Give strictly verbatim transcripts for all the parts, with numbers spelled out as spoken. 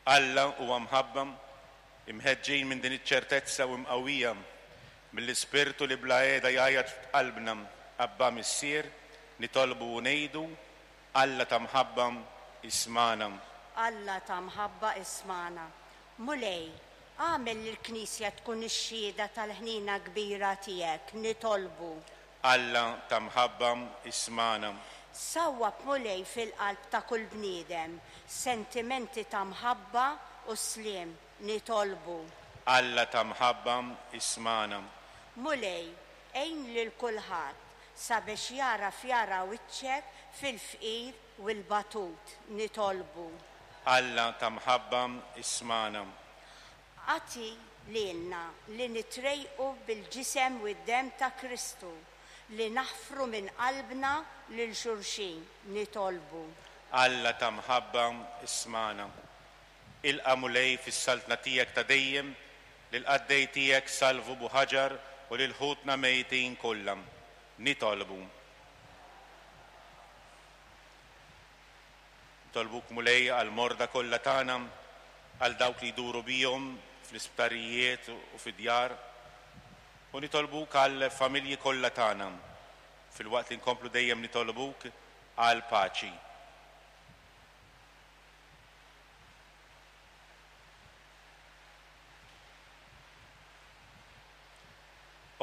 Alla huwa mħabba, imħeġġin minn din iċ-ċertezza u mqawwija mill-Ispirtu li bla qiegħda jgħajjat f'qalbna Abba Missier, nitolbu u ngħidu Alla ta' mħabba ismagħna. Alla ta' mħabba ismagħna. Mulej, agħmel li l-Knisja tkun ix-xhieda tal-ħnina kbira tiegħek, nitolbu. Alla ta' mħabba ismagħna. Sawwab Mulej fil-qalb ta' kull bniedem sentimenti ta' mħabba u sliem, nitolbu. Alla ta' mħabba ismagħna. Mulej, għin lil kulħadd sabiex jagħraf jara wiċċek fil-fqir u l-batut, nitolbu. Alla ta' mħabba ismagħna. Agħti lilna li nitrejqu bil-ġisem u d-demm ta' Kristu li naħfru minn qalbna lil xulxin, nitolbu. Alla ta' mħabba ismagħna. Ilqa' Mulej fis-saltna tiegħek ta' dejjem lil qaddej tiegħek Salvu Buħaġar u lil ħutna mejtin kollha. Nitolbu. Nitolbuk Mulej għall-morda kollha tagħna, għal dawk li jduru bihom fl-isptarijiet u fid-djar, u nitolbuk għal familji kollha tagħna, filwaqt li nkomplu dejjem nitolbuk għal paċi.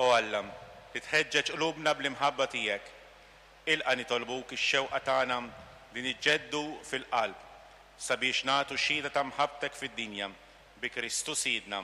O Alla, li tħeġġeġ qlubna bl-imħabba tiegħek, ilqa' nitolbuk ix-xewqa tagħna li niġġeddu fil-qalb sabiex nagħtu xhieda ta' mħabbtek fid-dinja bi Kristu Sidna.